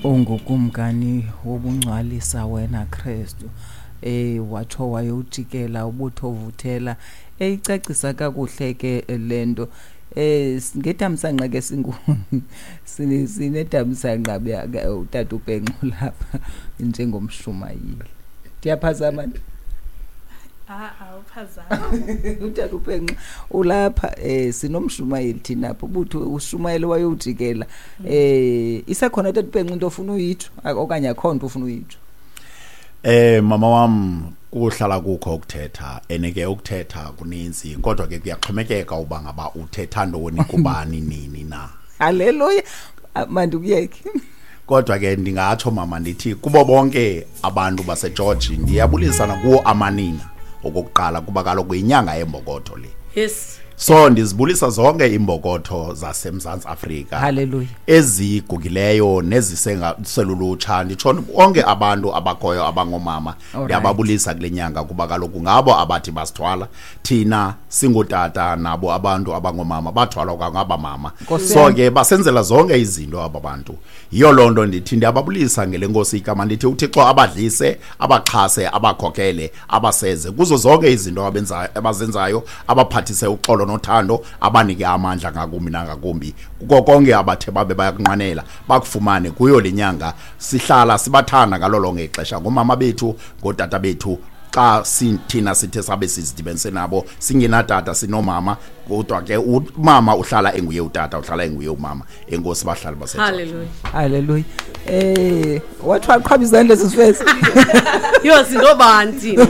Ungukumkani wobungcwalisa wena Kristu. Watsho wayowujikela ubutho vuthela, eyicacisa kakuhle ke le nto. Ngetamsanqa ke sinetamsanqa utata uPenxo lapha njengomshumayeli. Ndiyaphazama nje? Awuphazami. Utata uPenxo ulapha, sinomshumayeli thina apha, ubutho ushumayele wayowujikela. Isekhona tata uPenxo into ofuna uyitsho okanye akho nto ufuna uyitsho? Mama wam, kuhlala kukho ukuthetha, ene ke ukuthetha kuninzi, kodwa ke kuyaxhomekeka uba ngaba uthetha ntoni kubani nini na. Haleluya, mandikuyeke. Kodwa ke ndingatsho mama ndithi kubo bonke abantu baseGeorge ndiyabulisa nakuwo amanina okokuqala, kuba kaloku yinyanga yembokotho le. So ndizibulisa zonke imbokotho zaseMzantsi Afrika. Hallelujah. Ezigugileyo nezisengaselulutsha, nditsho bonke abantu abakhoyo abangomama. Ndiyababulisa kule nyanga kuba kaloku ngabo abathi basithwala thina singotata, nabo abantu abangomama bathwalwa kwangaba mama. Nkosi So yam. ke basenzela zonke izinto aba bantu. Yiyo loo nto ndithi ndiyababulisa ngele Nkosi igama, ndithi uThixo abadlise, abaxhase, abakhokele, abaseze kuzo zonke izinto abazenzayo, abaphathise uxolo nothando, abanike amandla ngakumbi nangakumbi kuko konke abathe babe bayakunqwenela bakufumane kuyo le nyanga. Sihlala sibathanda ngalo lonke ixesha ngoomama bethu, ngootata bethu. Xa thina sithe sabe sizidibanise nabo singenatata sinomama, kodwa ke umama uhlala enguye utata, uhlala enguye umama. Enkosi bahlali baseGeorge. Hallelujah. Hallelujah. Wathi waqhwaba izandla sisifesi. Yho, singobani thina?